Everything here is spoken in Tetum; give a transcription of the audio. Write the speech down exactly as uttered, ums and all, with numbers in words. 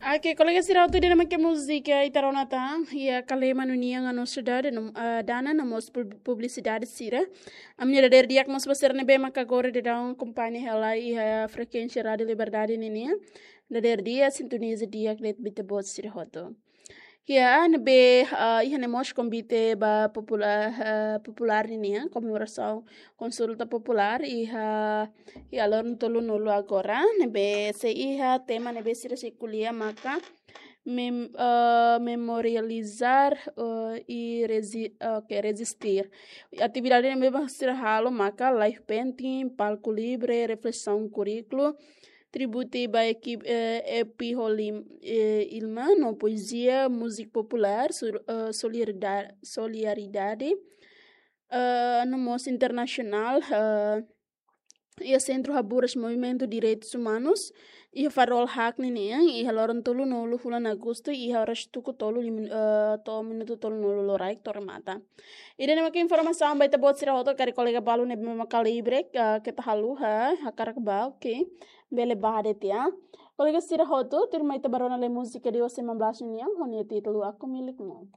Oke, kolega sira hotu, ida-ne'e mak múzika ita rona tan, iha Kalema no nia no sidade, no, ah, dana no mós pub-, publisidade sira. Ami-nia dadeer di'ak mós ba sira ne'ebé maka agora daudaun akompaña hela iha frekuénsia Rádiu Liberdade ninian. Dadeer di'ak, sintoniza di'ak de'it ba ita-boot sira hotu. Iha ne'ebé, ah, iha ne'e mós konvite ba popula-, ah, populár ninian, komemorasaun konsulta populár iha, iha loron tolunulu agora, ne'ebé sei iha tema ne'ebé sira sei ko'alia maka mem-, ah, memorializar, ah, e resi-, ah, oke, rezistir. Atividade ne'ebé mak sira halo maka live painting, palku livre, reflesaun kurríkulu, tributu ba ekipa, eh, epi Holim, eh, Ilma no poezia, múzika populár, sur-, eh, solidarida-, solidariedade, eh, no mós internasionál, eh, iha Sentru Haburas Movimentu Direitus Umanus, iha Farol Haque ninian, iha loron tolunulu fulan Agostu, iha oras tuku tolu lim-, eh, to'o minutu tolunulu loraik to'o remata. Ida-ne'e mak informasaun ba ita-boot sira hotu, karik kolega balu ne'ebé maka livre, eh, keta haluha, hakarak bá, oke. Bele bá de'it, ya. Kolega sira hotu, tuirmai ita bá rona lai múzika Deus sembilan belas ninian, ho nia títulu Aku Milikmu.